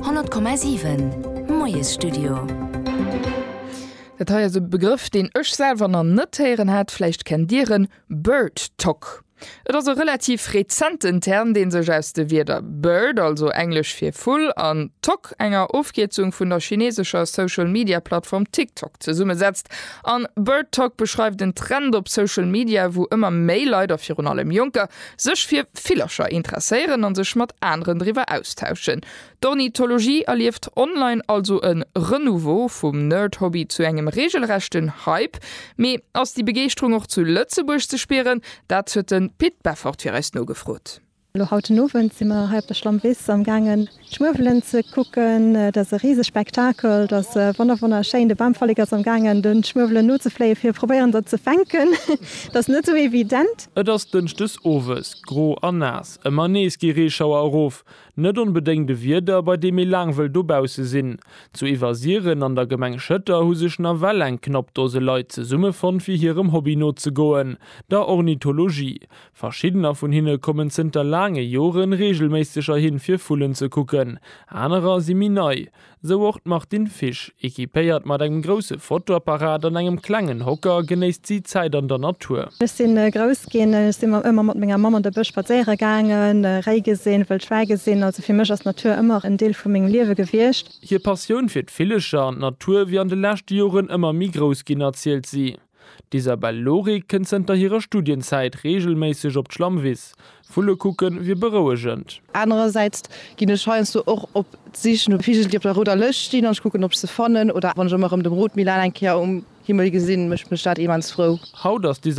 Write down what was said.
100,7 Moiesstudio. Dat hei ass e Begrëff, deen ech selwer nach net héieren hat. Vläicht kennt Dir en, BirdTok. Et ass e relativ rezenten Term, dee sech aus de Wierder Bird, also englesch fir Vull, an Tok, enger Ofkierzung vun der chinesescher Social-Media-Plattform TikTok, zesummesetzt. An BirdTok beschreift en Trend op Social Media, wou ëmmer méi Leit, a virun allem Jonker, sech fir Villercher interesséieren an sech mat aneren driwwer austauschen. D'Ornithologie erlieft online also e Renouveau, vum Nerd-Hobby zu engem reegelrechten Hype. Mee ass déi Begeeschterung och zu Lëtzebuerg ze spieren? Dat huet de Pit Beffort fir eis nogefrot. Elo haut den Owend si mer hei op der Schlammwiss am gaangen d'Schmuewelen ze kucken. Et ass e rise Spektakel, et ass wonner wonnerschéin. De Bamfallek ass am gaangen de Schmuewelen nozefléien fir probéieren der ze fänken. Et ass net esou evident. Et ass dënschdes owes, gro an naass. Ëmmer nees gi Reeschauer erof. Net onbedéngt e Wieder, bei deem ee laang wëll dobausse sinn. Zu Iwwersiren an der Gemeng Schëtter hu sech nawell eng knapp Dose Leit zesummefonnt, fir hirem Hobby nozegoen, der Ornithologie. Verschiddener vun hinne kommen zënter laange Joren reegelméisseg erhin, fir Vullen ze kucken. Anerer si méi nei. Sou och d'Martine Fisch. Equipéiert mat engem grousse Fotoapparat an engem klengen Hocker genéisst si d'Zäit an der Natur. Ech si grouss ginn, ech si ëmmer mat menger Mamm an de Bësch spadséiere gaangen, Réi gesinn, wëll Schwäi gesinn. Also fir mech ass d'Natur ëmmer en Deel vu mengem Liewe gewiescht. Hir Passioun fir d'Villecher an d'Natur wier an de leschte Joren ëmmer méi grouss ginn, erzielt si. D'Isabelle Lorig kënnt zënter hirer Studienzäit reegelméisseg op d'Schlammwiss. Vulle kucken wier berouegend. Anerersäits ginn ech heiansdo och op d'Sich no Vigel, déi op der rouder Lëscht stinn an ech kucken, ob ech se fannen. Oder wann ech ëmmer erëm de Rotmilan eng Kéier um Himmel gesinn, mécht mech dat immens frou. Haut ass d'Isabelle.